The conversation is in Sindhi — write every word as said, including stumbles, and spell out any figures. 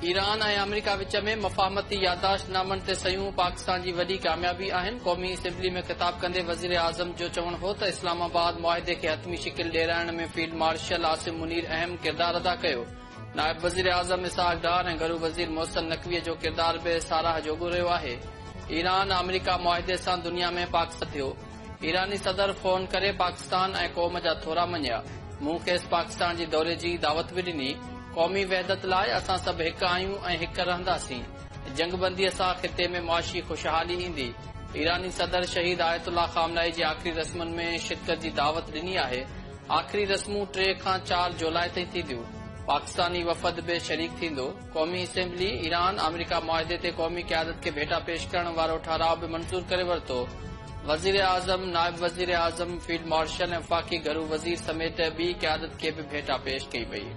ايران ۽ آمريڪا وچ ۾ مفاهمتي يادداشت نامن تي صحيحون پاڪستان جي وڏي ڪاميابي آهن. قومي اسيمبلي ۾ خطاب ڪندي وزير اعظم جو چوڻ هو ته اسلام آباد معاهدي کي حتمي شڪل ڏيارڻ ۾ فيلڊ مارشل عاصم منير اهم ڪردار ادا ڪيو. نائب وزير اعظم اسحاق ڊار ۽ گهرو وزير محسن نقوي جو ڪردار به ساراهه جوڳو رهيو آهي. ايران آمريڪا معاهدي سان دنيا ۾ پاڪستان ٿيو. ايراني صدر فون ڪري پاڪستان ۽ قوم جا ٿورا مڃيا. مون کيس پاڪستان جي دوري جي دعوت به ڏني. قومي وحدت لاءِ اسان سڀ هڪ آهيون ۽ هڪ رهنداسين. جنگ بندي سان خطي ۾ معاشي خوشحالي ايندي. ايراني صدر شهيد آيت الله خامنائي جي آخري رسمن ۾ شرڪت جي دعوت ڏني آهي. آخري رسمون ٽي کان چار جولاءِ تائين ٿينديون. پاڪستاني وفد به شريڪ ٿيندو. قومي اسيمبلي ايران آمريڪا معاهدي تي قومي قيادت کي ڀيٽا پيش ڪرڻ وارو ٺهراءُ به منظور ڪري ورتو. وزير اعظم، نائب وزير اعظم، فيلڊ مارشل ۽ وفاقي گهرو وزير سميت ٻي قيادت کي به ڀيٽا پيش ڪئي وئي.